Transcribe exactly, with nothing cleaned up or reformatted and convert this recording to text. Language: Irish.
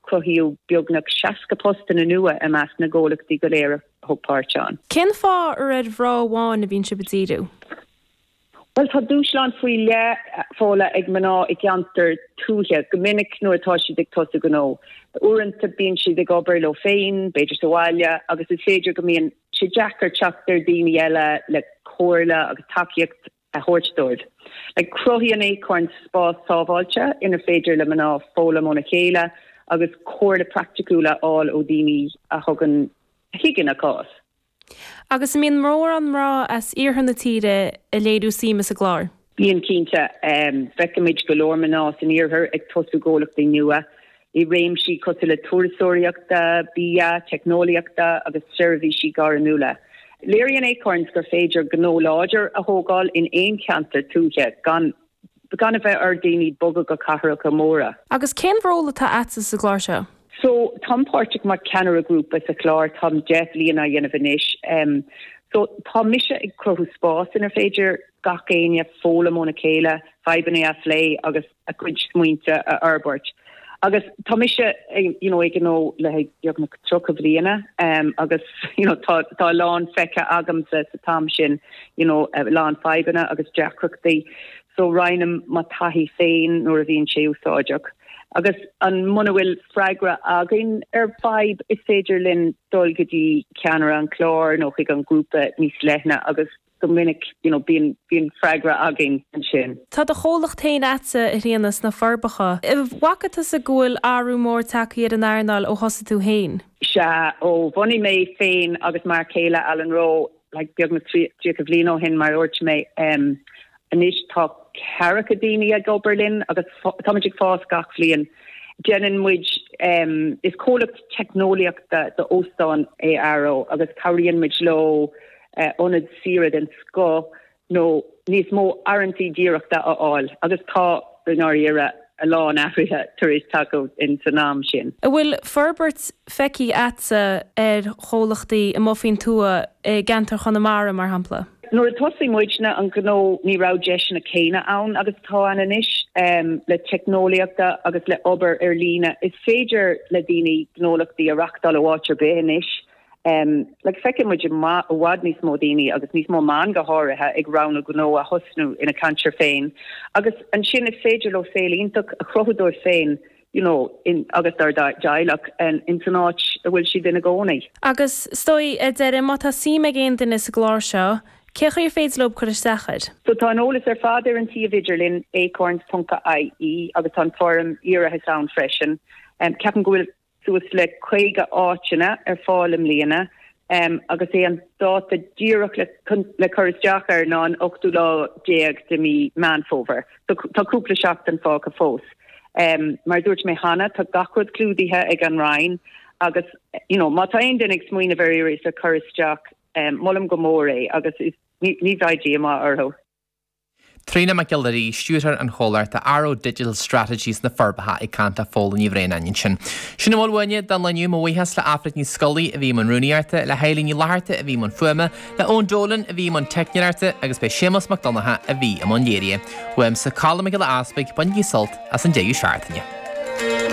Cruthaíodh beagnach seasca postanna nua i measc na gcomhlachtaí go léir a thug páirt ann. Cén fáth ar ar mhná amháin a bhíonn sibh ag díriú? Bhuel, tá dúshlán faoi leith, Fódhla, ag mná i gceantar tuaithe go minic nuair atá siad ag tosú gnó. Uaireanta bíonn siad ag obair leo féin, b'fhéidir sa bhaile, agus is féidir go mbíonn sé deacair teacht ar daoine eile le comhairle agus tacaíocht a thabhairt dóibh. Like, cruthaíonn Acorns spás sábháilte inar féidir le mná foghlaim óna chéile agus comhairle praiticiúil a fháil ó daoine a thugann a thuigeann a cás. Agus an mbíonn mórán mná as iarthar na tíre ag léiriú suime sa gclár? Bíonn cinnte. Feicimid go leor mná san iarthar ag tosú gnólachtaí nua i réimsí cosúil le turasóireachta, bia, teicneolaíochta agus seirbhísí gairmiúla. Léiríonn Acorns gur féidir gnó láidir a thógáil in aon cheantar tuaithe gan gan a bheith ar daoine bogadh go cathracha móra. Agus cén ról atá agatsa sa gclár seo? So, táim páirteach mar ceannaire grúpa sa chlár, táim deich bliana á dhéanamh anois. Um, so tá mise ag cruthú spás inar féidir gach éinne foghlaim óna chéile, fadhbanna a phlé agus a gcuid smaointe a fhorbairt. Agus tá mise you know, ag gnó le beagnach tríocha bliana um, agus you know, tá, tá a lán feicthe agamsa sa t-am sin you know, a lán fadhbanna agus deacrachtaí. So roinnim mo taithí féin nuair a bhíonn sé úsáideach. Agus an muna bhfuil freagra againn ar fadhb is féidir linn dul go dtí ceannaire an chlár nó chuig an grúpa níos leithne agus go minic you know, bíonn bíonn freagra againn ansin. Tá do chomhlacht féin agatsa a Thríona sna Forbacha. Bhfaca tusa go bhfuil athrú mór tagtha ar an earnáil ó thosaigh tú féin? Sea, ó bhunaigh mé féin agus m'fhear céile Alan Rowe like, beagnach tríocha bliain ó shin mar a dúirt mé um, anois tá ceathracha daoine ag obair linn agus táimid ag fás gach bhliain. Déanann muid um, is comhlacht teicneolaíochta d'óstáin é Arrow agus cabhraíonn muid leo uh, ionad saoire den scoth nó níos mó áirithintí díreachta a fháil agus tá i ndáiríre a lán athruithe tar éis teacht in san am sin. An bhfuil forbairt feicthe agatsa ar chomhlachtaí amuigh faoin tuath i gceantar Chonamara mar shampla? Nuair a thosaigh muidne an gnó ní raibh deiseanna céanna ann agus atá ann anois um, le teicneolaíochta agus le obair ar líne. Is féidir le daoine gnólachtaí a reáchtáil ó áit ar bith anois. Um, like feiceann muid i bhfad níos mó daoine agus níos mó mná go háirithe ag roghnú gnó a thosnú ina gceantar féin. Agus ansin is féidir leo saol iontach a chruthú dóibh féin you know, in, agus dá dteaghlach in, in san áit a bhfuil siad ina gcónaí. Agus is dóigh ar deireadh má tá suim ag aon duine sa gclár seo, cén chaoi ar féidir leo cur isteach air? So tá an eolas ar fad ar an suíomh idirlín acorns.ie agus tá an foirm iarratais ann freisin. Um, ceapaim go bhfuil suas le caoga áiteanna ar fáil i mbliana um, agus é an dáta díreach le, le cur isteach air ná an ochtú lá déag de mí Meán Fómhair. So, tá cúpla seachtain fágtha fós. Um, mar dúirt mé cheana tá gach rud clúdaithe ag an Roinn agus you know, má tá aon duine ag smaoineamh ar iarratas a chur isteach um, molaim go mór é agus is, ní, ní bheidh díomá orthu. Tríona Mac Giolla Rí, stiúrthóir an chomhlachta Arrow Digital Strategies sna Forbacha ag caint le Fódhla Ní Bhraonáin ansin. Sin a bhfuil uainne don lá inniu mo bhuíochas le Aifric Ní Scolaí a bhí i mbun rúnaíochta, le hEilín Ní Fhlatharta a bhí i mbun fuaime, le Eoin Dolan a bhí i mbun teicneoireachta agus b'é Séamus Mac Donncha a bhí i mbun léirithe. Uaimse Colm Mac Giolla Easpaig, bainigí sult as an deireadh seachtaine.